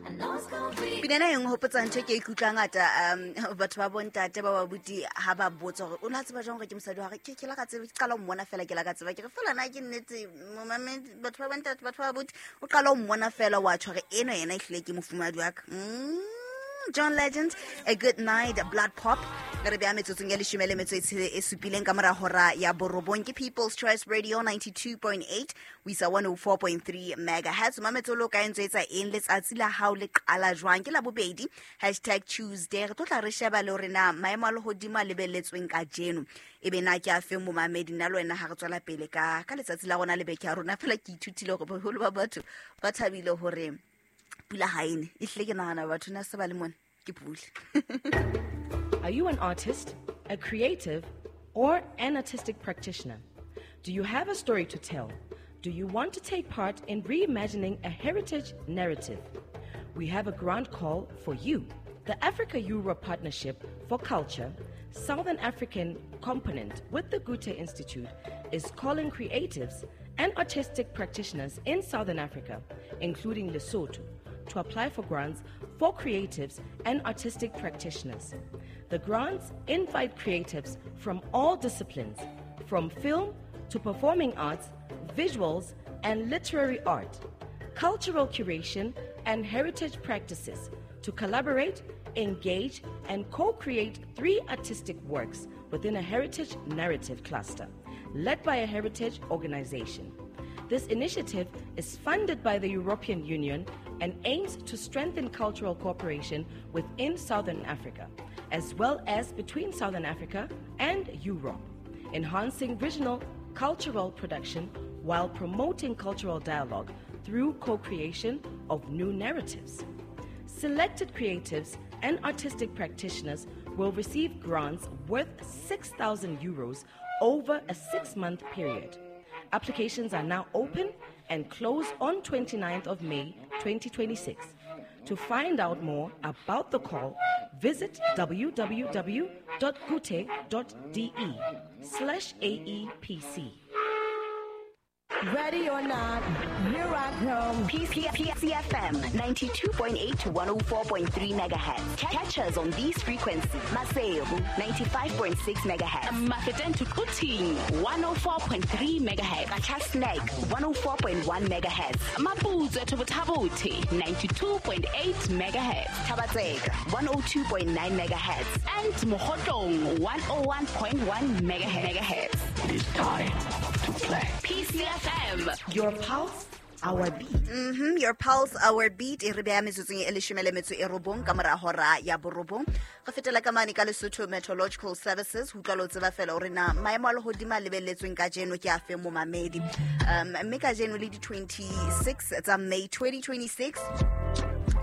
Pina ena e nhopotsa ntho e ke ikutlwa ngata batho ba bontate ba babuti ha ba botsa gore o ne a tseba jang gore ke mosadi wa gage. Ke la ka tseba, ke qala ho mmona fela, ke la ka tseba ke re fela na ke nnete momamedi. Batho ba bontate, batho ba babuti, o qala ho mmona fela wa tjho hore eno yena ehlile ke mofumahadi wa ka. John Legend, A Good Night, Blood Pop. Re beha metsotsong ya leshome le metso e e supileng ka mora hora ya borobong. Ke People's Choice Radio 92.8 ho isa 104.3 megahertz. Mametso lo ka entse etsa eng, letsatsi la hao le qala jwang? Ke la bobedi, #Tuesday. Re tlo tla re sheba le hore na maemo a lehodimo a lebelletsweng kajeno e be na ke a feng. Momamedi, nna le wena ha re tswela pele ka letsatsi la rona le beke ya rona fela, ke ithutile hore boholo ba batho ba thabile hore pula ha ene. Ehlile ke nahana batho na se ba le mona ke pula. Are you an artist, a creative, or an artistic practitioner? Do you have a story to tell? Do you want to take part in reimagining a heritage narrative? We have a grant call for you. The Africa Europe Partnership for Culture, Southern African component with the Goethe Institute, is calling creatives and artistic practitioners in Southern Africa, including Lesotho, to apply for grants for creatives and artistic practitioners. The grants invite creatives from all disciplines, from film to performing arts, visuals, and literary art, cultural curation, and heritage practices to collaborate, engage, and co create three artistic works within a heritage narrative cluster led by a heritage organization. This initiative is funded by the European Union and aims to strengthen cultural cooperation within Southern Africa, as well as between Southern Africa and Europe, enhancing regional cultural production while promoting cultural dialogue through co creation of new narratives. Selected creatives and artistic practitioners will receive grants worth €6,000 over a 6-month period. Applications are now open and close on 29th of May 2026. To find out more about the call, visit www.goethe.de/AEPC. Ready or not, here I come. PCFM 92.8 to 104.3 megahertz. Catch us on these frequencies. Maseru 95.6 megahertz. Mafeteng to Quthing 104.3 megahertz. Qacha's Nek 104.1 megahertz. Maputswe to Botha-Bothe 92.8 megahertz. Thaba-Tseka 102.9 megahertz. And Mokhotlong 101.1 megahertz. It is time to play. PCFM. Your pulse, our beat. Your pulse, our beat. E re beha metsotsong e leshome le metso e robong ka mora hora ya borobong. Re fetela ka mane ka Lesotho Meteorological Services ho utlwa le ho tseba fela hore na maemo a lehodimo a lebelletsweng kajeno ke a feng, momamedi. Mme kajeno le di-26 tsa May 2026,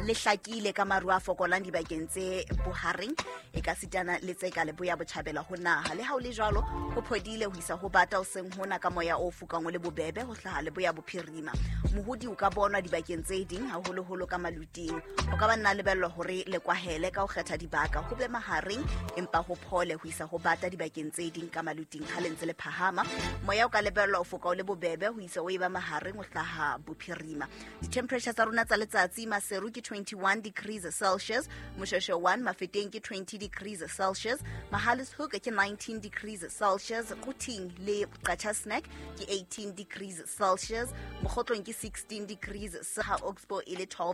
le hlakile ka maru a fokolang dibakeng tse bohareng e ka sitana le tse ka leboya botjhabela ho naha. Le ha o le jwalo, ho phodile ho isa ho bata o seng hona ka moya o fokang o le bobebe ho hlaha leboya bophirima. Mohodi o ka bonwa dibakeng tse ding, haholoholo ka maluting. Ho ka ba nna lebellwa hore le kwahele ka ho kgetha dibaka, ho be mahareng empa ho phole ho isa ho bata dibakeng tse ding ka maluting. Ha le ntse le phahama, moya o ka lebellwa o foka o le bobebe ho isa o e ba mahareng ho hlaha bophirima. Di-temperature tsa rona tsa letsatsi: Maseru ke 21 degrees Celsius, Moshoeshoe 1, Mafeteng ke 20 degrees Celsius, Mohale's Hoek ke 19 degrees Celsius, Quthing le Qacha's Nek ke 18 degrees Celsius, Mokhotlong ke 16 degrees, ha Oxbow e le 12.